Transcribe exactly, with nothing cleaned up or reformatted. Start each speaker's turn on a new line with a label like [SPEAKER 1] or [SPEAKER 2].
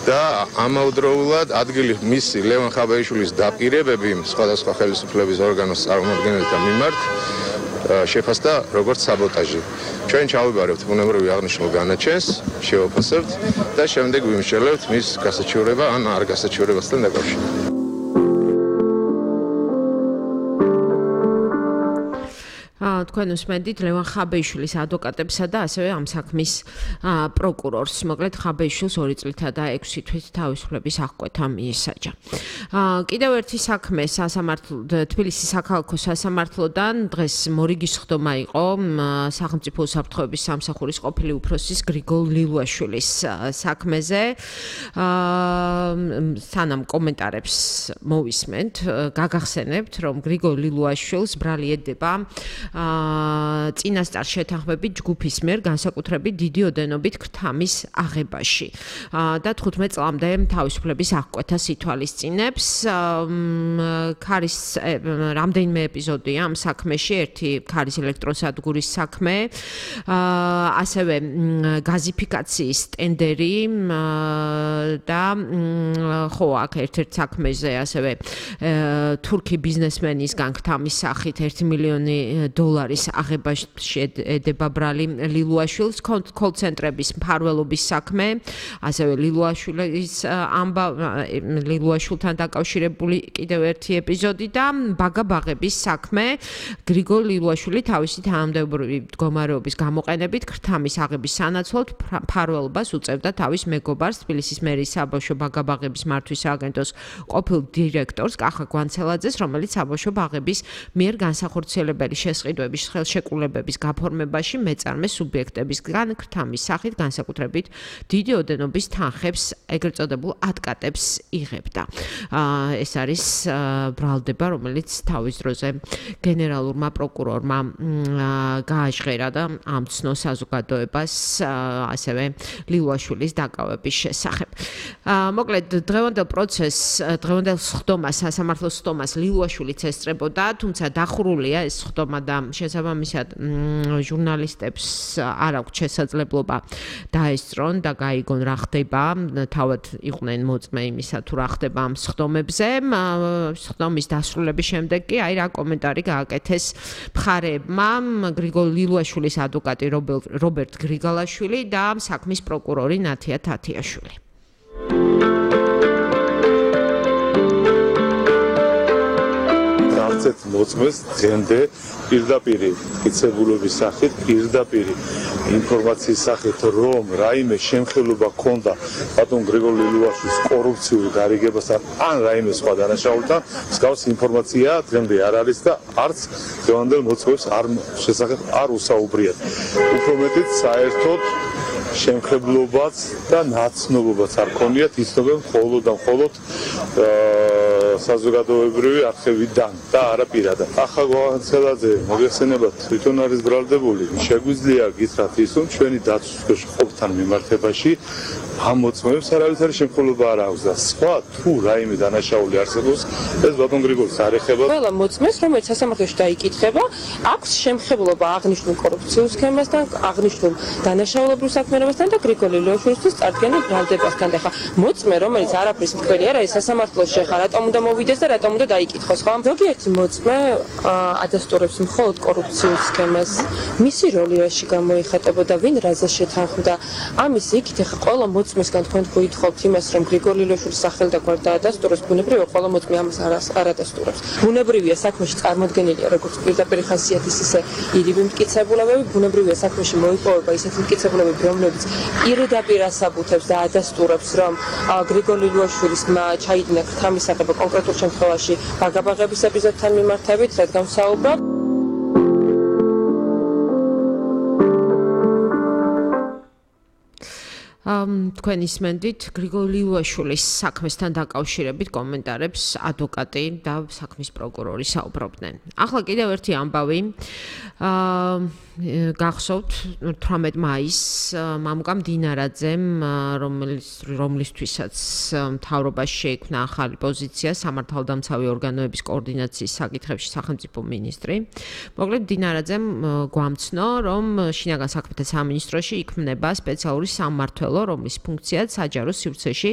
[SPEAKER 1] და ამავდროულად ადგილი მისი ლევან ხაბეიშვილის დაპირებები სხვადასხვა ხელისუფლების ორგანოს წარმომადგენელთა მიმართ შეფასდა როგორც საბოტაჟი. ჩვენ ჩავიბარებთ ბუნებრივი აღნიშნულ განაჩენს, შევაფასებთ და შემდეგ ვიმსჯელებთ მის გასაჩივრება ან არ გასაჩივრებასთან დაკავშირებით.
[SPEAKER 2] თქვენ უსმენთ ლევან ხაბეიშვილის ადვოკატებსა და ასევე ამ საქმის პროკურორს. მოკლედ ხაბეიშვილს ორი წლითა და ექვსი თვით თავისუფლების აღკვეთა მიესაჯა. კიდევ ერთი საქმე სასამართლო თბილისის საქალაქო სასამართლოდან დღეს მორიგის ხდომა იყო სახელმწიფო უსაფრთხოების სამსახურის ყოფილი უფროსის გრიგოლ ლილუაშვილის საქმეზე. სანამ კომენტარებს მოვისმენთ, გაგახსენებთ, რომ გრიგოლ ლილუაშვილს ბრალი ედება წინასწარ შეთანხმებით ჯგუფის მიერ განსაკუთრებით დიდი ოდენობით ქრთამის აღებაში და თხუთმეტ წლამდე თავისუფლების აღკვეთას ითვალისწინებს. ქარის რამდენიმე ეპიზოდია ამ საქმეში, ერთი ქარის ელექტროსადგურის საქმე, ასევე გაზიფიკაციის ტენდერი და ხო აქ ერთ-ერთ საქმეზე ასევე თურქი ბიზნესმენისგან ქრთამის სახით ერთი მილიონი დოლარის აღებაში ედება ბრალი ლილუაშვილს. კოლ-ცენტრების მფარველობის საქმე, ასევე ლილუაშვილის ამბა ლილუაშვილთან დაკავშირებული კიდევ ერთი ეპიზოდი და ბაგაბაღების საქმე. გრიგოლ ლილუაშვილი თავისი თანამდებობრივი მდგომარეობის გამოყენებით ქრთამის აღების სანაცვლოდ მფარველობას უწევდა თავის მეგობარს, თბილისის მერის საბავშვო ბაგაბაღების მართვის სააგენტოს ყოფილ დირექტორს კახა გვანცელაძეს, რომელიც საბავშვო ბაღების მიერ განსახორციელებელი შესყიდვების ხელშეკრულებების გაფორმებაში მეწარმე სუბიექტებისგან ქრთამის სახით განსაკუთრებით დიდი ოდენობის თანხებს, ეგრეთ წოდებულ ატკატებს იღებდა. ეს არის ბრალდება, რომელიც თავის დროზე გენერალურმა პროკურორმა გააჟღერა და ამცნო საზოგადოებას ასევე ლილუაშვილის დაკავების შესახებ. მოკლედ დღევანდელ პროცესს, დღევანდელ სხდომას, სასამართლოს სხდომას ლილუაშვილიც ესწრებოდა, თუმცა დახურულია ეს სხდომა და შესაბამისად ჟურნალისტებს არ აქვს შესაძლებლობა დაესწრონ და გაიგონ რა ხდება, თავად იყვნენ მოწმე იმისა თუ რა ხდება ამ სხდომებზე. სხდომის დასრულების შემდეგ კი აი რა კომენტარი გააკეთეს მხარეებმა, გრიგოლ ლილუაშვილის ადვოკატი რობერტ გრიგალაშვილი და საქმის პროკურორი ნათია თათიაშვილი.
[SPEAKER 3] ერთ მოწმეს დღემდე პირდაპირ მტკიცებულობის სახით, პირდაპირ ინფორმაციის სახით, რომ რაიმე შემხელობა ჰქონდა ბატონ გრიგოლ ლილუაშვილის კორუფციულ გარიგებასთან ან რაიმე სხვა დანაშაულთან, მსგავს ინფორმაცია დღემდე არ არის და არც დღევანდელ მოწმეს არ შესახებ არ უსაუბრიათ. უფრო მეტიც საერთოდ შემხებლობაც და ნაცნობობაც არ ქონიათ, იცნობენ მხოლოდ და მხოლოდ საზოგადოებრივი არხებიდან და არა პირადად. ახლა გვანცელაძე მოგეხსენებათ, თვითონ არის ბრალდებული, შეგვიძლია გითხრათ ის, რომ ჩვენი დაცვის ყოფთან მიმართებაში ამ მოწმეებს არავითარი შემხელობა არ აქვს და სხვა თუ რაიმე დანაშაული არსებობს, ეს ბატონ გრიგოლის არ ეხება.
[SPEAKER 4] ყველა მოწმეს, რომელიც სასამართლოში დაიკითხება, აქვს შემხებლობა აღნიშნულ კორუფციულ სქემასთან, აღნიშნულ დანაშაულებრივ საქმიანობასთან და გრიგოლ ლილუაშვილის წარდგენილ ბრალდებასთან. და ხა მოწმე, რომელიც არაფრის მკვლელი არ არის, სასამართლოში ხა რატომ უნდა მოვიდეს და რატომ უნდა დაიკითხოს, ხო? ზოგიერთი მოწმე ადასტურებს მხოლოდ კორუფციულ სქემას. მისი როლი რაში გამოიხატებოდა, ვინ რაზე შეთანხმდა? ამის იქით ხა ყველა მოწმესგან თქვენ გითხოვთ იმას, რომ გრიგოლ ლილუაშვილის სახელი და გვარ დაადასტუროს, ბუნებრივია ყველა მოწმე ამას არ ადასტურებს. ბუნებრივია საქმეში წარმოდგენილია როგორც პირდაპირ ხასიათის ისე ირიბი მტკიცებულებები, ბუნებრივია საქმეში მოიპოვება ისეთი მტკიცებულებები, რომლებიც პირდაპირ ასაბუთებს და ადასტურებს, რომ გრიგოლ ლილუაშვილის ჩაიდინა ქრთამის აღება კონკრეტულ შემთხვევაში ბაგაბაღების ეპიზოდთან მიმართებით, რადგან ვსაუბრობ.
[SPEAKER 2] თქვენ ისმენდით გრიგოლ ლილუაშვილის საქმესთან დაკავშირებით კომენტარებს ადვოკატი და საქმის პროკურორი საუბრობდნენ. ახლა კიდევ ერთი ამბავი. გახსოვთ თვრამეტ მაისს მამუკამ დინარაძემ, რომლისთვისაც მთავრობაში შეიქმნა ახალი პოზიცია სამართალდამცავი ორგანოების კოორდინაციის საკითხებში სახელმწიფო მინისტრი. მოკლედ დინარაძემ გვამცნო, რომ შინაგან საქმეთა სამინისტროში იქმნება სპეციალური სამმართველო, რომლის ფუნქციაც საჯარო სივრცეში